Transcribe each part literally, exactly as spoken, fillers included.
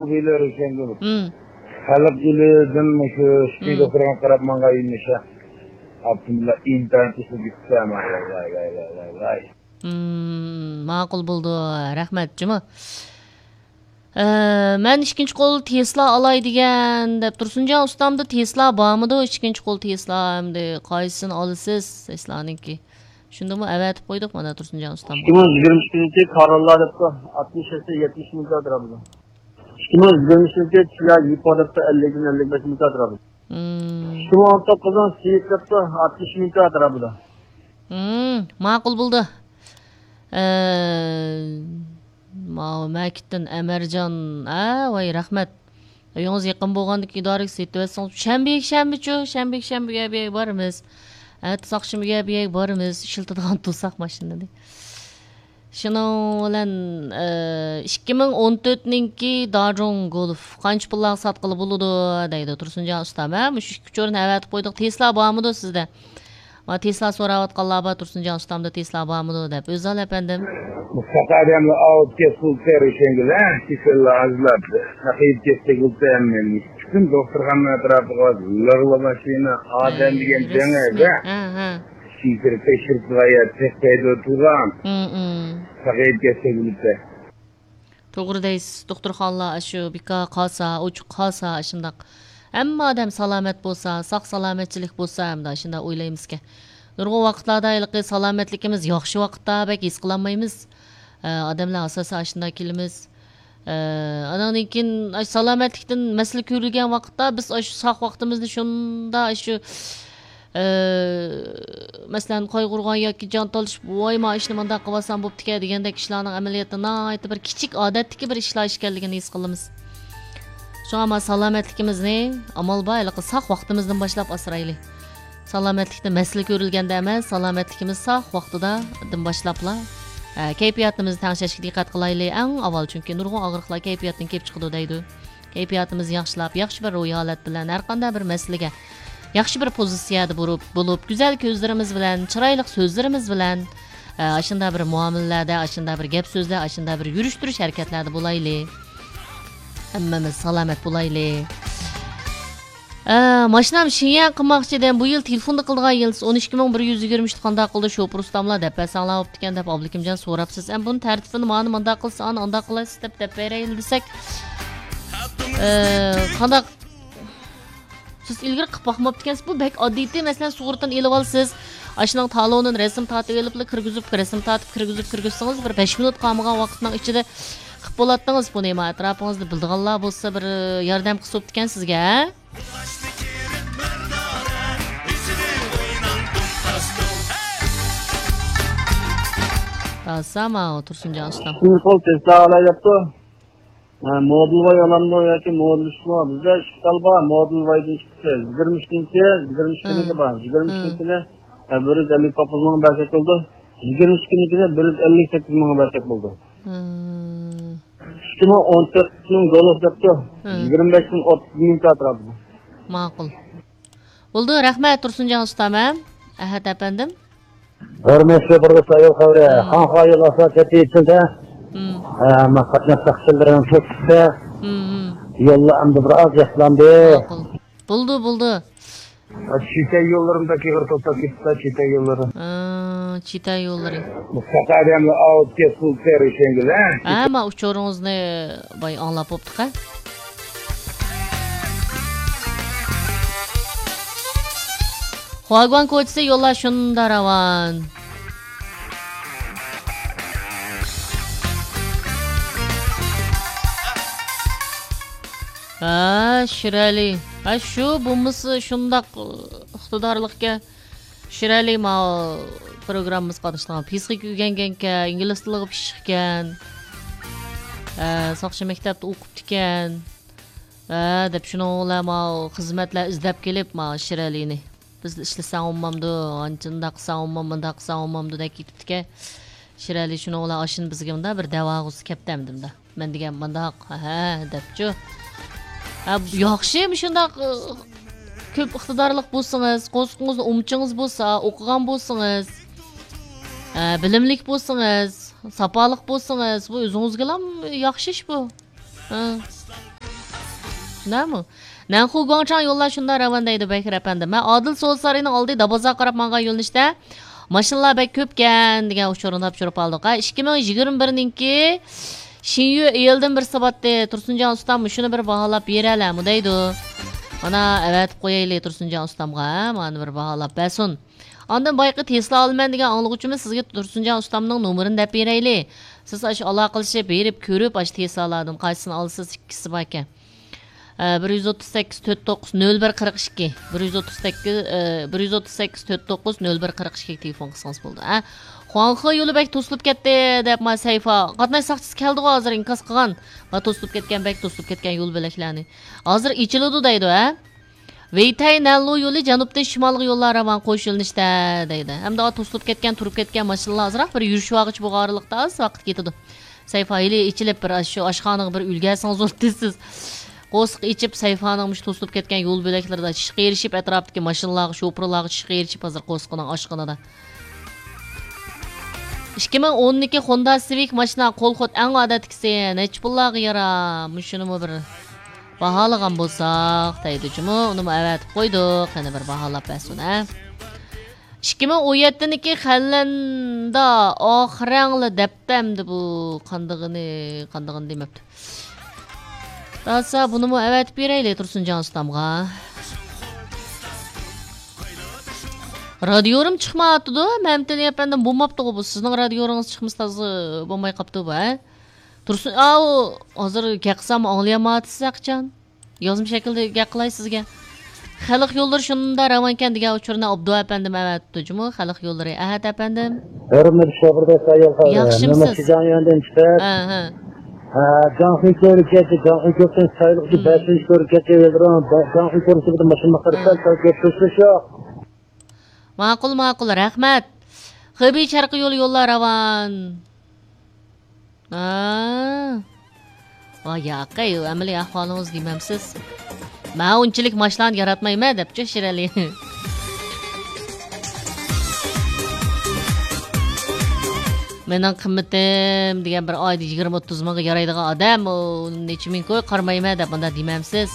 ئۆيلەر ئىكەن. مم. خەلق ئېلىدىن شۇ سۈتۈي مم. دوختۇرغا قاراپ ماڭغان ئىمىشە. ئاپتوموبىللار ئىنتايىن تېزلىك كېتىپتۇ. ۋاي، ۋاي، ۋاي، ۋاي، ۋاي. مم، ماقۇل بولدى. رەھمەت، جۇمۇ. ئە، مەن ئىككىنچى قول تېسلا ئالاي دېگەن دەپ، تۇرسۇنجان ئۇستامدا تېسلا بارمىدۇ؟ ئىككىنچى قول تېسلا ئەمدى قايسىسىنى ئالىسىز؟ تېسلانىڭكى. شۇندىمۇ ئەۋەتىپ قويدۇق مانا تۇرسۇنجان ئۇستامغا. ئىككى مىڭ يىگىرمە ئىككىنچى كاروللا دەپتۇ. ئاتمىش يەتتە، يەتمىش مىڭ كاتىر بۇ. ئىككى مىڭ يىگىرمە ئۈچىنچى چىللا يىپو دەپتۇ، ئەللىكتىن ئەللىك بەش مىڭ كاتىر بۇ. مم. ئىككى مىڭ ئون توققۇزنىڭ سېيىت دەپتۇ، ئاتمىش مىڭ كاتىر بۇ. مم، ماقۇل بولدى. ئە، ماۋۇ مەكىتتىن ئەمەرجان، ئە، ۋاي، رەھمەت. ئۆيىڭىز يېقىن بولغاندىكىن ئىدارىگە سېتىۋەتسىڭىز، شەنبە، يەكشەنبىچۇ، شەنبە، يەكشەنبە ئۆيگە بارىمىز. ئەتىسى ئاخشىمى ئۆيگە بارىمىز، ئىشلىتىدىغان تۇرساق ماشىنىنى. شۇنىڭ بىلەن، ئە، ئىككى مىڭ ئون تۆتنىڭكى داجۇڭ گولف قانچە پۇللارغا ساتقىلى بولىدۇ دەيدۇ تۇرسۇنجان ئۇستام. ھە، مۇشۇ ئىككى ئۇچۇرنى ئەۋەتىپ قويدۇق. تېسلا بارمىدۇ سىزدە؟ ما تېسلا سوراۋاتقانلار بار، تۇرسۇنجان ئۇستامدا تېسلا بارمىدۇ دەپ. ئۆزال ئەپەندىم. مۇشۇنداق ئادەملەر ئاۋۇپ كەتسە بولسا، رېشەنگىلەر كېسەللەر ئازلاپ، ساقىيىپ كەتسەك بولسا ھەممىمىز. پۈتۈن دوختۇرخانا ئەتراپىغا لىغلا ماشىنا، ئادەم دېگەن جەڭ ئەدە. ھە، ھە. شىفىر تەكشۈرۈپ قويۇپ تەكشۈرتىدۇ تۇرغان. ھىم، ھىم. ساقىيىپ كەتسەك بولسا. توغرا دەيسىز، دوختۇرخانىلار ئاشۇ بىكار قالسا، ئوچۇق قالسا، ئاشۇنداق ھەممە ئادەم سالامەت بولسا، ساق سالامەتچىلىك بولسا، ئەمدى ئاشۇنداق ئويلايمىزكەن. نۇرغۇن ۋاقىتلاردا ھېلىقى سالامەتلىكىمىز ياخشى ۋاقىتتا بەك ھېس قىلالمايمىز. ئە، ئادەملەر ئاساسەن ئاشۇنداق كېلىمىز. ئە، ئاناندىن كېيىن ئاشۇ سالامەتلىكتىن مەسىلە كۆرۈلگەن ۋاقىتتا بىز ئاشۇ ساق ۋاقتىمىزنى شۇنداق ئاشۇ، ئە، مەسىلەن، قايغۇرغان ياكى جان تالىشىپ، ۋاي، ما ئىشنى مۇنداق قىلىۋالسام بوپتىكەن دېگەندەك ئىشلارنىڭ ئەمەلىيەتتە ناھايىتى بىر كىچىك، ئادەتتىكى بىر ئىشلار ئىكەنلىكىنى ھېس قىلىمىز. شۇڭا ما سالامەتلىكىمىزنى ئامال بار ھېلىقى ساق ۋاقتىمىزدىن باشلاپ ئاسرايلى. سالامەتلىكتە مەسىلە كۆرۈلگەندە ئەمەس، سالامەتلىكىمىز ساق ۋاقتىدىن باشلاپلا، ئە، كەيپىياتىمىزنى تەڭشەشكە دىققەت قىلايلى. ئەڭ ئاۋۋال، چۈنكى نۇرغۇن ئاغرىقلار كەيپىياتتىن كېلىپ چىقىدۇ دەيدۇ. كەيپىياتىمىزنى ياخشىلاپ، ياخشى بىر روھىي ھالەت بىلەن ھەر قانداق بىر مەسىلىگە ياخشى بىر پوزىتسىيەدە بولۇپ، بولۇپ، گۈزەل كۆزلىرىمىز بىلەن، چىرايلىق سۆزلىرىمىز بىلەن، ئە، ئاشۇنداق بىر مۇئامىلىلەردە، ئاشۇنداق بىر گەپ سۆزلەر، ئاشۇنداق بىر يۈرۈش تۇرۇش ھەرىكەتلەردە بولايلى. ھەممىمىز سالامەت بولايلى. ئە، ماشىنام شىنيەن قىلماقچى ئىدىم. بۇ يىل تېلېفوندا قىلىدىغان يىلتىز ئون ئىككى مىڭ بىر يۈز يىگىرمە ئۈچنى قانداق قىلدى شوپۇر ئۇستاملار دەپ بەرسەڭلار بوپتىكەن دەپ ئابلىكىمجان سوراپسىز. ئەم بۇنى تەرتىپىنى مانا مۇنداق قىلسا، ئانا ئانداق قىلارسىز دەپ، دەپ بېرەيلى دېسەك. ئە، قانداق؟ سىز ئىلگىرى قىلىپ باقماپتىكەنسىز. بۇ بەك ئاددىيتى، مەسىلەن، سۇغۇرتىنى ئېلىۋالىسىز. ئاشۇنىڭ تالونىنى رەسىم تارتىۋېلىپلا كىرگۈزۈپ، رەسىم تارتىپ كىرگۈزۈپ، كىرگۈزسىڭىز، بىر بەش مىنۇت قالمىغان ۋاقىتنىڭ ئىچىدە قىلىپ بولاتتىڭىز بۇنى. ما ئەتراپىڭىزدا بىلىدىغانلار بولسا، بىر ياردەم قىلسا بوپتىكەن سىزگە، ھە؟ تاسا ماۋۇ تۇرسۇنجان ئۇستام. ئىككىنچى قول تېسلا ئالاي دەپتۇ. ھە، مودېل ۋاي ئالامدۇ ياكى مودېل ئۈچمۇ؟ بىزدە ئىككى خىل بار، مودېل ۋايدىن چىقتى. يىگىرمە ئۈچىنچى، يىگىرمە ئۈچىنچى بار. يىگىرمە ئۈچىنچىنى، ھە، بىر يۈز ئەللىك توققۇز مىڭغا بەرسەك بولىدۇ. يىگىرمە ئىككىنچىنى بىر يۈز ئەللىك سەككىز مىڭغا بەرسەك بولىدۇ. ھىم. ئىككى مىڭ ئون تۆتنىڭ گولف دەپتۇ. ھىم. يىگىرمە بەشتىن ئوتتۇز مىڭ ئەتراپىدا. ماقۇل. بولدى، رەھمەت تۇرسۇنجان ئۇستام، ھە؟ ئەھەت ئەپەندىم. ھۆرمەتلىك بۇرغۇت ئايال خەۋىرى. ھىم. خاڭخا يول ئاسفالت كەتتى ئىچىدە. ھىم. ئە، ما قاتناش ساقچىلىرىنىڭ تۆكۈشتە. ھىم، ھىم. يوللار ئەمدى بىر ئاز ياخشىلاندى. ماقۇل. بولدى، بولدى. چېتەك يوللىرىمدا كېغىر توختاپ كېتىپتۇ، چېتەك يوللىرى. ھە، چېتەك يوللىرى. مۇشۇنداق ئادەملەر ئاۋۇپ كەتسە بولسا، رېشەنگىلەر. ھە، ما ئۇچۇرىڭىزنى باي ئاڭلاپ بوپتۇق-ھە. خۇاگۇەن كوچىسى يوللار شۇنداق راۋان. ھە، شىرئەلى. ھە، شۇ بولمىسا شۇنداق ئىقتىدارلىقكەن. شىرئەلى ماۋۇ پروگراممىمىزغا قاتنىشىدىغان پىسخىكا ئۆگەنگەنكەن، ئىنگلىز تىلىغا پىششىقكەن. ھە، ساقچى مەكتەپتە ئوقۇپتىكەن. ھە، دەپ شۇنىڭ بىلەن ماۋۇ خىزمەتلەر ئىزدەپ كېلىپ، ماۋۇ شىرئەلىنى. بىز ئىشلىسەڭ بولمامدۇ، ئانچە ئۇنداق قىلساڭ بولمام، مۇنداق قىلساڭ بولمامدۇ دەپ كېتىپتىكەن. شىرئەلى شۇنىڭ بىلەن ئاشۇنى بىزگە مۇنداق بىر دەۋاغۇسى كەپتۇ ئەمدى مۇنداق. مەن دېگەن مۇنداق، ھە، دەپچۇ. ھە، ياخشى، مۇشۇنداق، ئى، كۆپ ئىقتىدارلىق بولسىڭىز، قورسىقىڭىزدا ئۇمىچىڭىز بولسا، ئوقۇغان بولسىڭىز، ھە، بىلىملىك بولسىڭىز، ساپالىق بولسىڭىز، بۇ ئۆزىڭىزگىلا ياخشى ئىش بۇ. ھە. نەمۇ؟ نەنخۇ گۇاڭچاڭ يوللار شۇنداق راۋان دەيدۇ بەكرى ئەپەندى. مەن ئادىل سودا سارىيىنىڭ ئالدى دابازاغا قاراپ ماڭغان يۆنىلىشتە ماشىنىلار بەك كۆپكەن دېگەن ئۇچۇرنى تاپشۇرۇپ ئالدۇق. ھە، ئىككى مىڭ يىگىرمە بىرنىڭكى شىنيۈ ئېلدىن بىر ساباتتى. تۇرسۇنجان ئۇستام مۇشۇنى بىر باھالاپ بېرەلەمۇ دەيدۇ. مانا ئەۋەتىپ قويايلى تۇرسۇنجان ئۇستامغا، ھە، مانا بىر باھالاپ بەرسۇن. ئاندىن بايىقى تېسلا ئالىمەن دېگەن ئاڭلىغۇچىمىز سىزگە تۇرسۇنجان ئۇستامنىڭ نومۇرىنى دەپ بېرەيلى. سىز ئاشۇ ئالاقىلىشىپ بېرىپ كۆرۈپ ئاشۇ تېسلالاردىن قايسىسىنى ئالىسىز، ئىككىسى باركەن. ئە، بىر يۈز ئوتتۇز سەككىز تۆت توققۇز نۆل بىر قىرىق ئىككى، بىر يۈز ئوتتۇز سەككىز، ئە، بىر يۈز ئوتتۇز سەككىز تۆت توققۇز نۆل بىر قىرىق ئىككىگە تېلېفون قىلسىڭىز بولىدۇ. ئە، خۇاڭخې يولى بەك توسۇلۇپ كەتتى دەپ ما سەيفا قاتناش ساقچىسى كەلدىغۇ ھازىر ئىنكاس قىلغان. ما توسۇلۇپ كەتكەن، بەك توسۇلۇپ كەتكەن يول بۆلەكلەرنى. ھازىر ئېچىلىدۇ دەيدۇ، ھە؟ ۋېيتەي نەنلۇ يولى جەنۇبتىن شىمالغا يوللار راۋان قوش يۆنىلىشتە دەيدۇ. ھەمدە توسۇلۇپ كەتكەن، تۇرۇپ كەتكەن ماشىنىلار ئازراق بىر يۈرۈشۈۋالغۇچە بولغان ئارىلىقتا ئاز ۋاقىت كېتىدۇ. سەيفا ھېلى ئېچىلىپ بىر شۇ ئاشخانىغا بىر ئۈلگەرسىڭىز بولدى سىز. قورسىقى ئېچىپ، سەيفانىڭ مۇشۇ توسۇلۇپ كەتكەن يول بۆلەكلىرىدە چىشقا ئېرىشىپ، ئەتراپتىكى ماشىنىلارغا، شوپۇرلارغا چىشقا ئېرىشىپ، ھازىر قورسىقىنىڭ ئاشقىنىدا. ئىككى مىڭ ئونىكى خوندا سىۋىك ماشىنا، قول خۇت ئەڭ ئادەتتىكىسى، نەچچە پۇللارغا يارا؟ مۇشۇنىمۇ بىر باھالىغان بولساق دەيدۇ جۇمۇ، ئۇنىمۇ ئەۋەتىپ قويدۇق. قېنى بىر باھالاپ بەرسۇن، ھە؟ ئىككى مىڭ ئون يەتتىنىڭكى خەنلەندە ئاخىرەڭلا دەپتۇ ئەمدى بۇ قاندىغىنى، قاندىغىنى دېمەپتۇ. داسا بۇنىمۇ ئەۋەتىپ بېرەيلى تۇرسۇنجان ئۇستامغا. رادىيورۇم چىقمايۋاتىدۇ، مەمتىلى ئەپەندىم، بولماپتىغۇ بۇ. سىزنىڭ رادىيورىڭىز چىقمىسا تازا بولماي قاپتۇ بۇ، ھە؟ تۇرسۇن، ئاۋۇ، ھازىر گەپ قىلسام ئاڭلىيالمايۋاتىسىز ھەقىچان. يازما شەكىلدە گەپ قىلاي سىزگە. خەلق يوللىرى شۇنداق راۋانكەن دېگەن ئۇچۇرنى ئابدۇ ئەپەندىم ئەۋەتىپتۇ جۇمۇ، خەلق يوللىرى. ئەھەت ئەپەندىم. ھۆرمەتلىك شوپۇر دوستلار، يول خەۋىرى. ياخشىمۇسىز؟ مەن شىجاڭيۈەندىن چىقىپ، ھە، ھە. ھە، جاڭخۇي كۆۋرۈكى، جاڭخۇي كۆۋرۈكىدىن سايلىقچى، ھىم. بەشىنچى كۆۋرۈكى يوللىرى، جاڭخۇي كۆۋرۈكىدىن ماشىنا قارىسا، ھە. سەل كۆپ تۇرۇش يوق. ماقۇل، ماقۇل، رەھمەت. خېبېي شەرقىي يولى يوللار راۋان. ھا. ۋاي ياقەي، ئەمەلىي ئەھۋالىڭىز دېمەمسىز؟ مەن ئۇنچىلىك ماشىنىلارنى ياراتمايمەن دەپچۇ شىرئەلى. مېنىڭ قىممىتىم دېگەن بىر ئايدا يىگىرمە ئوتتۇز مىڭغا يارايدىغان ئادەم، ئۇ نەچچە مىڭ كوي قارىمايمەن دەپ مۇنداق دېمەمسىز؟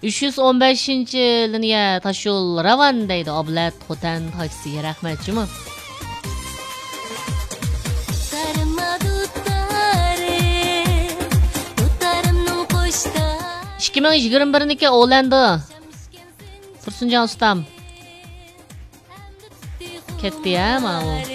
ئۈچ يۈز ئون بەشىنچى لىنىيە تاشيول راۋان دەيدۇ، ئابلەت خوتەن تاكسى، رەھمەت جۇمۇ. ئىككى مىڭ يىگىرمە بىرنىڭكى ئولەندو. تۇرسۇنجان ئۇستام. كەتتى ھە ماۋۇ.